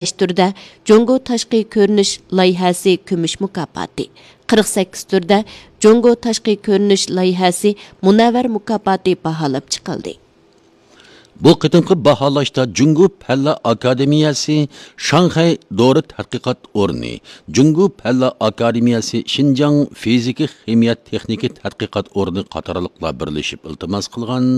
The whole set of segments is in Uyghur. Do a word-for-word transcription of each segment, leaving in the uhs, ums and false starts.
بەش تۈردە جۇڭگو تاشقى كۆرۈنۈش لايىھەسى كۈمۈش مۇكاپاتى، قىرىق سەككىز تۈردە جۇڭگو تاشقى كۆرۈنۈش لايىھەسى مۇنەۋۋەر مۇكاپاتى باھالاپ چىقىلدى. بۇ قېتىمقى باھالاشتا جۇڭگو پەنلەر ئاكادېمىيەسى شاڭخەي دورا تەتقىقات ئورنى، جۇڭگو پەنلەر ئاكادېمىيەسى شىنجاڭ فىزىكا خىمىيە تېخنىكا تەتقىقات ئورنى قاتارلىقلار بىرلىشىپ ئىلتىماس قىلغان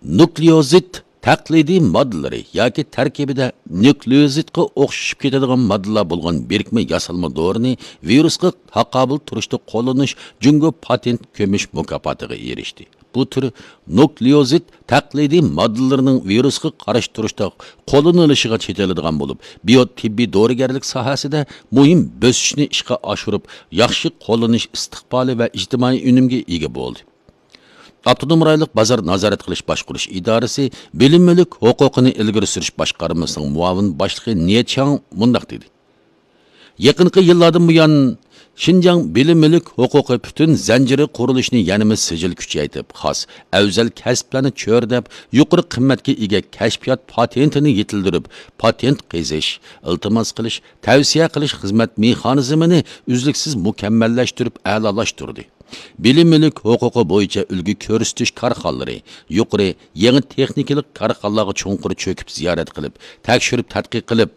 نۇكلېئوزىد تەقلىدىي ماددىلىرى ياكى تەركىبىدە نۇكلېئوزىدقا ئوخشىشىپ كېتىدىغان ماددىلار بولغان بىرىكمە ياسالما دورىنى ۋىرۇسقا تاقابىل تۇرۇشتا قوللىنىش جۇڭگو پاتېنت كۈمۈش مۇكاپاتىغا ئېرىشتى. بۇ تۈر نۇكلېئوزىد تەقلىدىي ماددىلىرىنىڭ ۋىرۇسقا قارشى تۇرۇشتا قوللىنىلىشىغا چېتىلىدىغان بولۇپ، بىيو تېببىي دورىگەرلىك ساھەسىدە مۇھىم بۆسۈشنى ئىشقا ئاشۇرۇپ، ياخشى قوللىنىش ئىستىقبالى ۋە ئىجتىمائىي ئۈنۈمگە ئىگە بولدى. ئاپتونوم رايونلۇق بازار نازارەت قىلىش باشقۇرۇش ئىدارىسى بىلىم مۈلۈك ھوقۇقىنى ئىلگىرى سۈرۈش باشقارمىسىنىڭ مۇئاۋىن باشلىقى نىيە چياڭ مۇنداق دېدى: يېقىنقى يىللاردىن بۇيان، شىنجاڭ بىلىم مۈلۈك ھوقۇقى پۈتۈن زەنجىرى قۇرۇلۇشىنى يەنىمۇ سىجىل كۈچەيتىپ، خاس ئەۋزەل كەسىپلەرنى چۆرىدەپ، يۇقىرى قىممەتكە ئىگە كەشپىيات پاتېنتىنى يېتىلدۈرۈپ، پاتېنت قېزىش، ئىلتىماس قىلىش، تەۋسىيە قىلىش خىزمەت مېخانىزمىنى ئۈزلۈكسىز مۇكەممەللەشتۈرۈپ ئەلالاشتۇردى. بىلىم مۈلۈك ھوقۇقى بويىچە ئۈلگە كۆرسىتىش كارخانىلىرى، يۇقىرى، يېڭى تېخنىكىلىق كارخانىلارغا چوڭقۇر چۆكۈپ زىيارەت قىلىپ، تەكشۈرۈپ تەتقىق قىلىپ،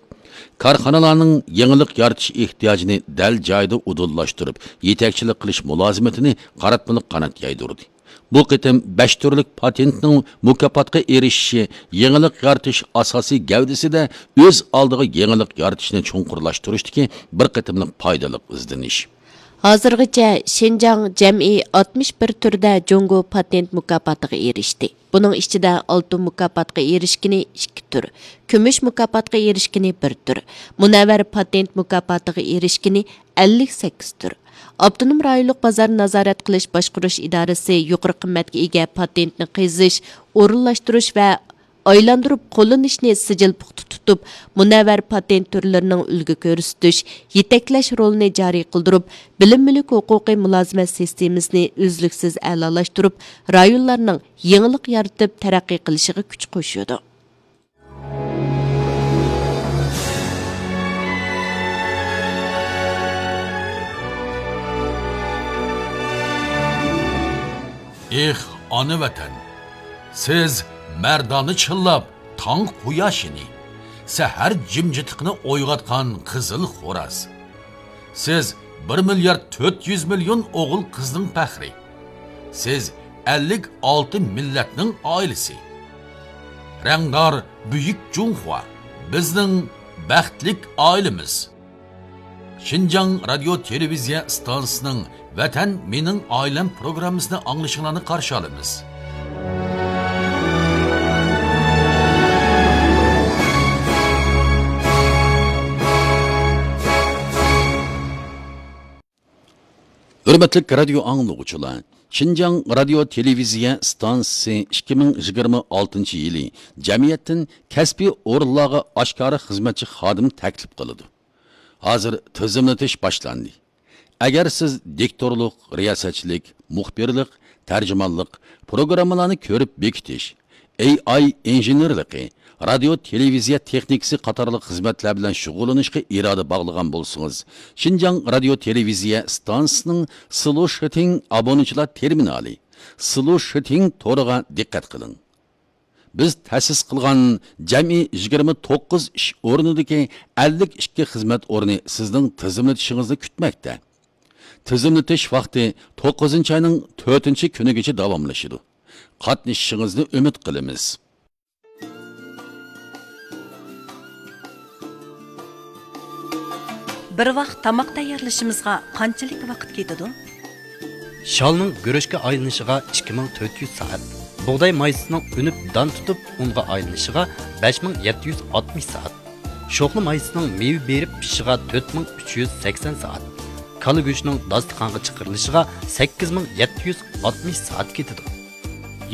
كارخانىلارنىڭ يېڭىلىق يارىتىش ئېھتىياجىنى دەل جايىدا ئۇدۇللاشتۇرۇپ، يېتەكچىلىك قىلىش مۇلازىمىتىنى قاراتمىلىق قانات يايدۇردى. بۇ قېتىم بەش تۈرلۈك پاتېنتنىڭ مۇكاپاتقا ئېرىشىشى يېڭىلىق يارىتىش ئاساسىي گەۋدىسىدە ئۆز ئالدىغا يېڭىلىق يارىتىشنى چوڭقۇرلاشتۇرۇشتىكى بىر قېتىملىق پايدىلىق ئىزدىنىش. ھازىرغىچە شىنجاڭ جەمئىي ئاتمىش بىر تۈردە جۇڭگو پاتېنت مۇكاپاتىغا ئېرىشتى. بۇنىڭ ئىچىدە ئالتۇن مۇكاپاتقا ئېرىشكىنى ئىككى تۈر، كۈمۈش مۇكاپاتقا ئېرىشكىنى بىر تۈر، مۇنەۋۋەر پاتېنت مۇكاپاتىغا ئېرىشكىنى ئەللىك سەككىز تۈر. ئاپتونوم رايونلۇق بازار نازارەت قىلىش باشقۇرۇش ئىدارىسى يۇقىرى قىممەتكە ئىگە پاتېنتنى قېزىش، ئورۇنلاشتۇرۇش ۋە ئايلاندۇرۇپ قوللىنىشنى سىجىل پۇختا تۇتۇپ، مۇنەۋۋەر پاتېنت تۈرلىرىنىڭ ئۈلگە كۆرسىتىش، يېتەكلەش رولىنى جارى قىلدۇرۇپ، بىلىم مۈلۈك ھوقۇقى مۇلازىمەت سىستېمىسىنى ئۈزلۈكسىز ئەلالاشتۇرۇپ، رايونلارنىڭ يېڭىلىق يارىتىپ تەرەققىي قىلىشىغا كۈچ قوشىدۇ. ئېھ، ئانا ۋەتەن! سىز مەردانە چىللاپ تاڭ قۇياشىنى، سەھەر جىمجىتلىقىنى ئويغاتقان قىزىل خوراز. سىز بىر مىليارد تۆت يۈز مىليون ئوغۇل قىزنىڭ پەخرى. سىز ئەللىك ئالتە مىللەتنىڭ ئائىلىسى. رەڭدار بۈيۈك جۇڭخۇا، بىزنىڭ بەختلىك ئائىلىمىز. شىنجاڭ رادىيو تېلېۋىزىيە ئىستانسىسىنىڭ ۋەتەن مېنىڭ ئائىلەم پروگراممىسىنى ئاڭلىشىڭلارنى قارشى ئالىمىز. ھۆرمەتلىك رادىيو ئاڭلىغۇچىلار! شىنجاڭ رادىيو تېلېۋىزىيە ئىستانسىسى ئىككى مىڭ يىگىرمە ئالتىنچى يىلى جەمئىيەتتىن كەسپىي ئورۇنلارغا ئاشكارا خىزمەتچى خادىم تەكلىپ قىلىدۇ. ھازىر تىزىملىتىش باشلاندى. ئەگەر سىز دىكتورلۇق، رىياسەتچىلىك، مۇخبىرلىق، تەرجىمانلىق، پروگراممىلارنى كۆرۈپ بېكىتىش، ئېي ئاي ئىنژېنېرلىقى، رادىيو تېلېۋىزىيە تېخنىكىسى قاتارلىق خىزمەتلەر بىلەن شۇغۇللىنىشقا ئىرادە باغلىغان بولسىڭىز، شىنجاڭ رادىيو تېلېۋىزىيە ئىستانسىسىنىڭ سلوشىتىڭ ئابۇنىچىلار تېرمىنالى، سلوشىتىڭ تورىغا دىققەت قىلىڭ. بىز تەسىس قىلغان جەمئىي يىگىرمە توققۇز ئىش ئورنىدىكى ئەللىك ئىككى خىزمەت ئورنى سىزنىڭ تىزىملىتىشىڭىزنى كۈتمەكتە. تىزىملىتىش ۋاقتى توققۇزىنچى ئاينىڭ تۆتىنچى كۈنىگىچە داۋاملىشىدۇ. قاتنىشىشىڭىزنى ئۈمىد قىلىمىز. بىر ۋاق تاماق تەييارلىشىمىزغا قانچىلىك ۋاقىت كېتىدۇ؟ شالنىڭ گۈرۈچكە ئايلىنىشىغا ئىككى مىڭ تۆت يۈز سائەت، بۇغداي مايسىسىنىڭ ئۈنۈپ دان تۇتۇپ ئۇنغا ئايلىنىشىغا بەش مىڭ يەتتە يۈز ئاتمىش سائەت، شوخلا مايسىسىنىڭ مېۋە بېرىپ پىشىشىغا تۆت مىڭ ئۈچ يۈز سەكسەن سائەت، كالا گۆشىنىڭ داستىخانغا چىقىرىلىشىغا سەككىز مىڭ يەتتە يۈز ئاتمىش سائەت كېتىدۇ.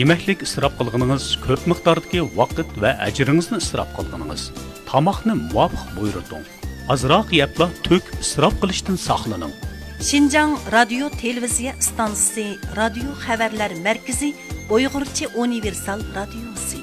يېمەكلىك ئىسراپ قىلغىنىڭىز، كۆپ مىقداردىكى ۋاقىت ۋە ئەجرىڭىزنى ئىسراپ قىلغىنىڭىز. تاماقنى مۇۋاپىق بۇيرۇتۇڭ. ئازراق يەپلا تۆكۈپ ئىسراپ قىلىشتىن ساقلىنىڭ. شىنجاڭ رادىيو تېلېۋىزىيە ئىستانسىسى، رادىيو خەۋەرلەر مەركىزى، ئۇيغۇرچە ئۇنىۋېرسال رادىيوسى.